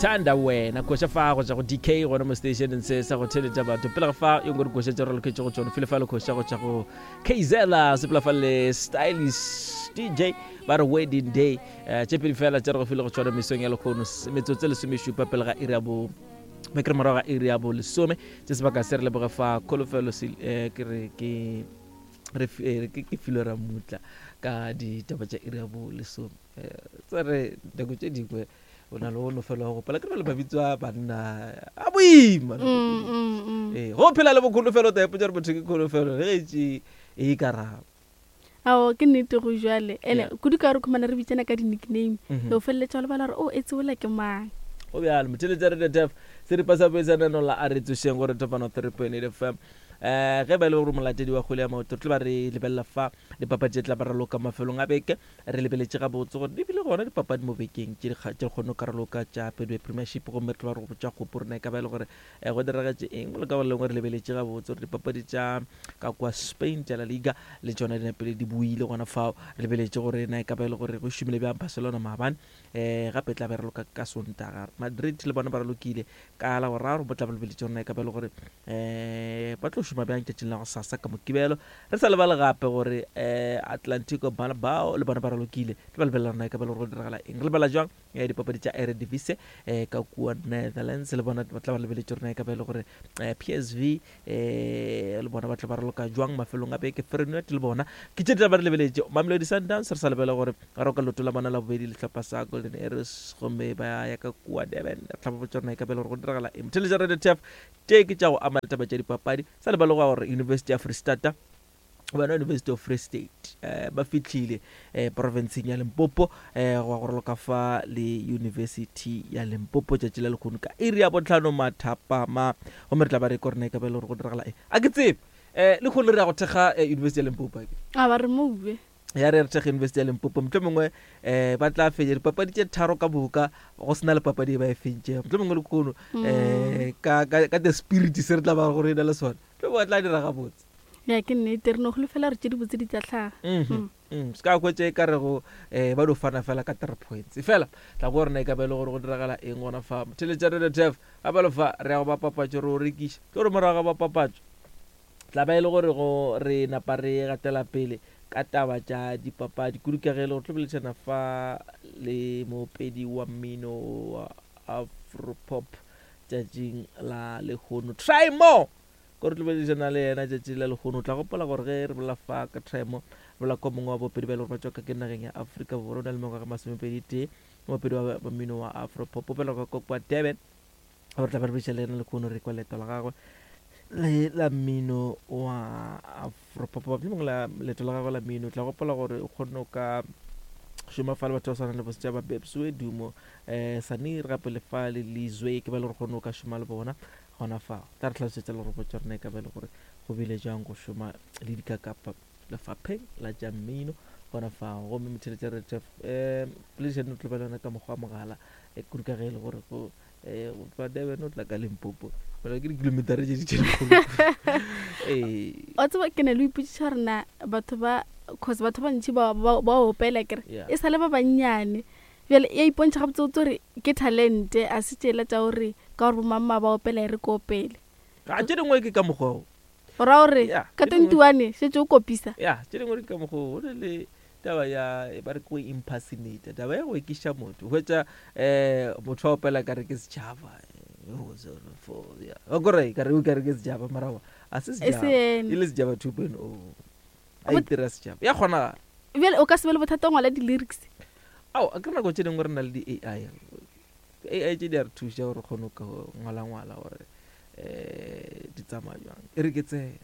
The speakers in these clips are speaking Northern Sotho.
Thanda wena koša fa go tša go DK gona mo stationeng se sa go theletša batho pele ga fa yo ngwe dikoša tše re loketše go tšona file fa le koša go tša go Kzela sepela fa le Stylish DJ ba re wedding day eh, tše pedi fela tše re go file go tšona mesong ya lekgono metsotso e lesomešupa pele ga iri ya bo be ke re morago ga iri ya bo lesome tše sebaka se re leboge fa kholofelo eh, ke re ke re eh, ke filwe ramutla ka ditaba tša iri ya bo lesome tse re nako tše dingwe o na le o no fela wa gopola ke re le mabitso a banna a boima mm, mm, mm. ee go phela le bokholofelo ta ipotsa gore motho ke kholofelo le ge tše e karabo ao ke nnete go jale ene kudu ka gore khumana re bitsana ka di-nickname mm -hmm. o feleletša o lebala gore o oh, e tseola ke mang go bjalo motheletša re detef seripa sa boetsanano la a re tsošeng gore topano 3.8 fm um ge ba e le gore molatedi wa kgwele ya maoto re tlo ba re lebelela fa dipapadi tše tla ba raloka mafelong a beke Re lebeletše gabotse gore di bile gona dipapadi mo bekeng tše di tše kgonne go karoloka tša Betway Premiership gomme re tlo ba re go botša kgopo rena e ka ba e le gore eh, go diragetše eng mo le ka go lengwe re lebeletše gabotse gore dipapadi tša ka kwa Spain tša La Liga le tšona di napile di buile gona fao re lebeletše gore na e ka ba e le gore go šomile bjang Barcelona maabane eh gape e tla be raloka ka Sontaga Madrid le bona ba ralokile ka la boraro bo tla ba lebeletše gore na e ka ba e le gore um ba tlo šoma bjang tšatšing la go sasa ka mokibelo re sa lebale gape gore um atlantico bao le bona ba ralokile tlo ba lebelela rona e ka ba le gore go diragala eng re lebala jwang um dipapadi tša eredivise um ka kua netherlands le bona ba tla ba lebeletše rona e ka ba e le gore um psv um le bona ba tla ba raloka jwang mafelong a beke feyenoord le bona ke tše di tla ba re lebeletše mamelodi sundowns re sa lebele gore ba roka leoto la bona la bobedi lehlopha sa golden arrows gomme ba ya ka kua durban re tla ba botša rona e ka ba e le gore go diragala eng motheletša radio tf Tše ke tša go ama ditaba tša dipapadi. Sa lebale gore University ya Freistata bona University of Free State eh, ba fihlile eh, profenseng ya Limpopo eh, go go raloka fa le University ya Limpopo tšatši la lekgono ka iri ya botlhano mathapama gomme re tla ba re ko rena e ka ba e le gore go diragala eng a ke tsebe eh, lekgono re ya go thekga eh, University ya Limpopo a ke a ba re moue ya re re thekge University ya Limpopo mohlomongwe mongwe um ba tla fenya dipapadi tše tharo ka boka go sena le papadi e ba e fentšego mohlomongwe lekono um ka, ka, ka the spirit se re tla ba gore e na le sona mohlomongwe ba tla dira gabotse ya ke nnete re no holofela gore tše dibotse di tla hlaga mm. mm, se ka hwetša e ka rego um ba no fana fela ka three points fela tla go rena e ka ba e le gore go diragala eng gona fa motheletša radio tef gape le fa re ya go ba papatšo re o rekiša tlo re morago ga ba papatšo Tla ba e le gore go re napa re gatela pele ka taba tša dipapadi, kudu ka ge e le gore tlo boledišana fa le moopedi wa mmino wa Afropop tšatšing la lehono, Try More. Ko re tlo boledišana le yena tšatši la lehono. O tla gopola gore ge re bolela fa ka Try More, re bolela ka mongwe wa baopedi ba e le gore ba tšwa ka ke nageng ya Afrika Borwa, o na le mengwaga e masomepedi tee, moopedi wa mmino wa Afropop, o belegwa ka kwa Durban. Gore tla ba re bitša le yena lehono re kwa leeto la gagwe le la mmino wa afropop mohlomongwe la leeto la gagwe la mmino. Tla gopola gore o kgonne o ka šoma fa le batho ba swana le bosetšaba Babswe Dumo um Sanir gape le fa le Lizwe ke ba le gore kgonne o ka šoma le bona gona fa. Tla re tlhalosetša le gore botša rena e ka ba e le gore go bile jang go šoma le dikakapa lefapheng la tša mmino gona fao. Gomme motheletša re um poledišano o tlo ba le yona ka mokgwa wa mogala kudu ka ge e le gore go Eh, go tloga Durban o tla ka Limpopo. Fela ke dikilometara tše di tše dikgolo. Eh. Wa tseba ke na le ipotšiša gore na batho ba cause batho ba ntši ba ba ba opela kere Yeah. e sa le ba bannyane bjale ya ipontšha gabotsebotse gore ke talente a se tšela tša gore ka gore bomamma ba opela e re ke opele Ga tše dingwe ke ka mokgwa o. O ra gore Yeah, ka tše dingwe- 21 šetše o kopisa Ya, tše dingwe ke ka mokgwa o. Go na le Taba ya ba re ke go impersonate, taba ya go ekiša motho. Hwetša eh motho wa opela ka re ke setšhaba. Wa kore ka re o ka re ke setšhaba mara wa a se setšhaba. E le setšhaba 2.0. A itira setšhaba. Ya kgonagala. Bjale o ka se be le bothata ngwala di-lyrics. Ao, a ke re nako tše dingwe re na le di-AI. AI tše di a re thuša gore kgone go ngwala-ngwala gore um di tsamaya jwang. E re ke tsene.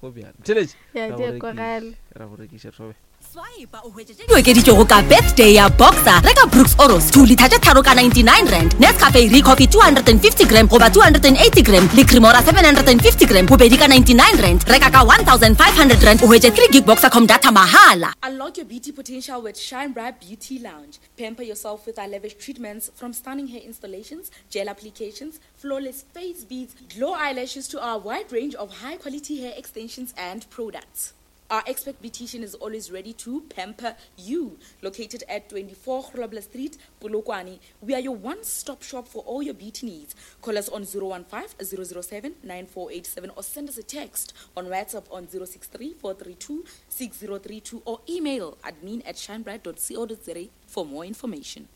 Go bjalo. Theletše. Ya, di a kwagala. Ra go rekiša thobe. Swipa o hwetše tše di okeditšwego ka birthday ya Boxer. Reka Brooks Oros 2 litha tše tharo ka 99 rand, Nescafe Recoffee 250 gram goba 280 gram le Cremora 750 gram bobedi ka 99 rand. Reka ka 1500 rand o hwetše 3 gig Boxercom data mahala. Unlock your beauty potential with Shine Bright Beauty Lounge. Pamper yourself with our lavish treatments from stunning hair installations, gel applications, flawless face beads, glow eyelashes to our wide range of high quality hair extensions and products. Our expert beautician is always ready to pamper you. Located at 24 Grobler Street, Polokwane, we are your one-stop shop for all your beauty needs. Call us on 015 007 9487 or send us a text on WhatsApp on 063 432 6032 or email admin at shinebright.co.za for more information.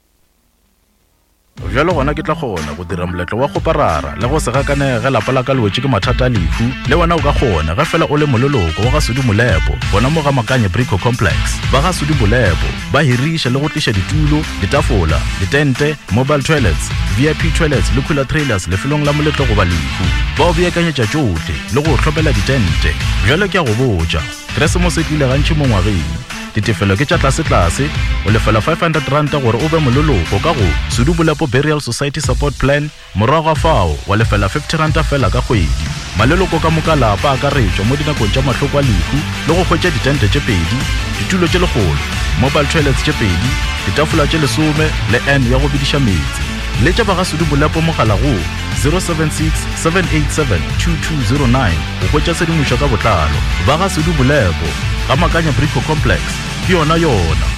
Bjalo gona ke tla kgona go dira moletlo wa kgoparara le go se gakanege ge lapa la ka le wetše ke mathata a lehu. Le wena o ka kgona ge fela o le moleloko wa ga Sudi Molepo gona mo ga Makanye Brico Complex. Ba ga Sudi Molepo ba hiriša le go tliša ditulo, ditafola, ditente, mobile toilets, VIP toilets le cooler trailers lefelong la moletlo goba lehu. Ba o beakanyetša tšohle le go o hlomela ditente. Bjalo ke a go botša, Keresemose e tlile gantši mo ngwageng. Ditefelo ke tša tlasetlase, o lefela R500 gore o be moleloko ka go Sedubolepo Burial Society Support Plan, morago ga fao wa lefela R50 feela ka kgwedi. Maleloko ka moka a lapa a akaretšwa mo dinakong tša mahloko a lehu le go hwetša ditente tše pedi, ditulo tše lekgolo, mobile toilets tše pedi, ditafola tše lesome le urn ya go bediša meetse. Letša ba ga Sedubolepo mogala go 076 787 2209 go hwetša tshedimošo ka botlalo. Ba ga Sedubolepo. Ga Makanya Brico Complex, ke yona yona.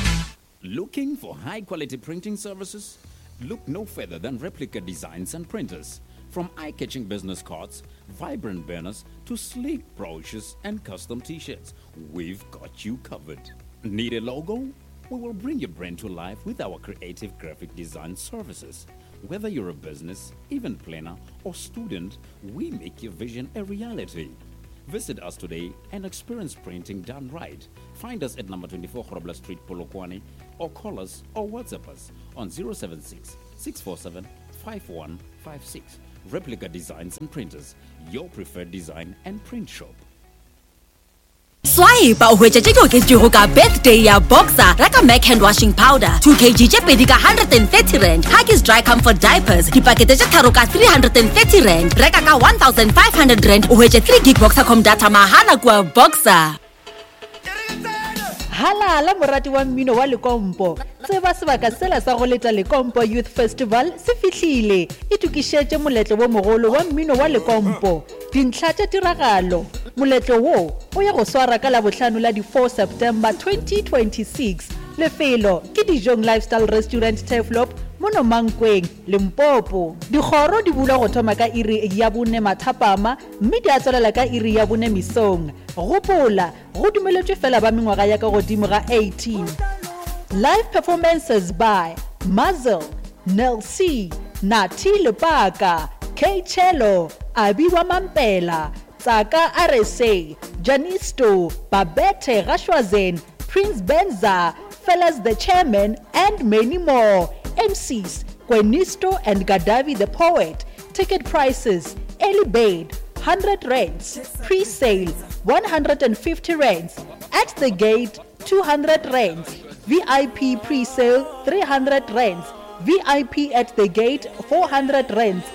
Looking for high quality printing services? Look no further than Replica Designs and Printers. From eye catching business cards, vibrant banners, to sleek brochures and custom t shirts, we've got you covered. Need a logo? We will bring your brand to life with our creative graphic design services. Whether you're a business, event planner, or student, we make your vision a reality. Visit us today and experience printing done right. Find us at number 24 Grobler Street, Polokwane, or call us or WhatsApp us on 076 647 5156. Replica Designs and Printers, your preferred design and print shop. Swipe o hwetša tše di oketšwego ka birthday ya Boxer. Reka Mac hand washing powder 2 kg tše pedi ka R130, Huggies dry comfort diapers dipakete tše tharo ka R330. Reka ka R1500 o hwetše 3 gig Boxercom data mahala kua Boxer. Halala morati wa mmino wa Lekompo! Tseba sebaka sela sa go leta Lekompo Youth Festival se fihlile! Itokišetše moletlo wo mogolo wa mmino wa Lekompo. Dintlha tša tiragalo, Moletlo wo o ya go swara ka Labohlano la di 4 September 2026. Lefelo ke Dijong Lifestyle Restaurant Turfloop mono Mankweng, Limpopo. Dikgoro di bulwa go thoma ka iri ya bone mathapama mme di a tswalela ka iri ya bone mesong. Gopola, go dumeletšwe fela ba mengwaga ya ka godimo ga 18. Live performances by Muzzle, Nel C, Nathi Lepaka, K-Cello, Abi wa Mampela, Tsaka RSA, Janisto, Babette Gashwazen, Prince Benza, Fellas the Chairman and many more. MCs, Kwenisto and Gadavi the Poet. Ticket prices, early bird, 100 rands, pre-sale, 150 rands, at the gate, 200 rands, VIP pre-sale, 300 rands, VIP at the gate, 400 rands.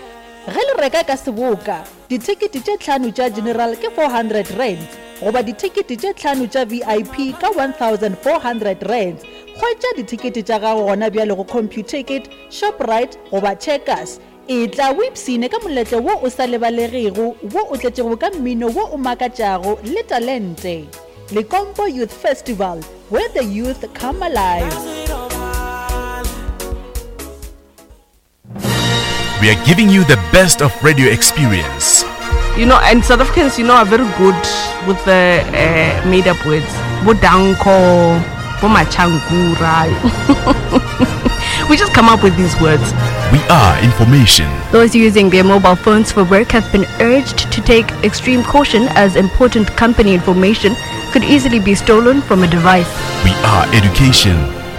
Ge le reka ka seboka, dithekete tše tlhano tša general ke 400 rands goba dithekete tše tlhano tša VIP ka 1400 rands. Hwetša dithekete tša gago gona bjale go Computicket, Shoprite goba Checkers. Etla o ipshine ka moletlo wo o sa lebalegego wo o tletšego ka mmino wo o makatšago le talente. Lekompo Youth Festival, where the youth come alive. We are giving you the best of radio experience. You know, and South Africans, you know, are very good with the uh, made up words. Bodanko, Bomachankura. We just come up with these words. We are information. Those using their mobile phones for work have been urged to take extreme caution as important company information could easily be stolen from a device. We are education.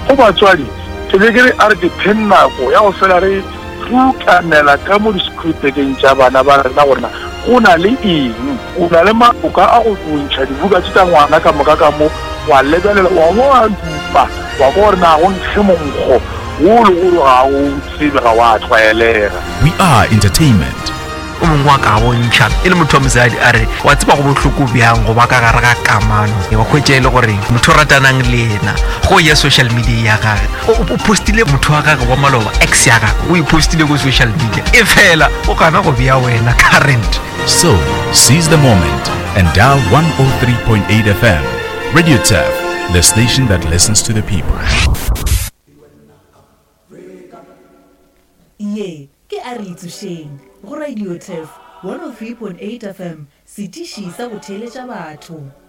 Go batswadi, ke be ke re a re ke pheng nako ya go fela re rutanela ka mo di-school-bekeng tša bana ba rena gore na go na le eng. O na le maoka a go ntšha dibuka tše tša ngwana ka moka ka mo, wa lebelela, wa bo wa dupa, wa kwa gore na go nkge monkgo wo le gore ga o tsebe, ga wa tlwaelega. We are entertainment. O mongwe wa ka bontšha e le motho wa mosadi a re wa tseba go bohloko bjang go ba ka gare ga kamano wa hwetša e le gore motho o ratanang le yena go ya social media ya gage o postile motho wa gage wa maloba ex ya gage o e postile ko social media e fela o gana go bea wena current So, seize the moment and dial 103.8 FM. Radio Turf, the station that listens to the people. Ye ke A Re Itsošeng go Radio Turf 103.8 FM, setiši sa go theeletša batho.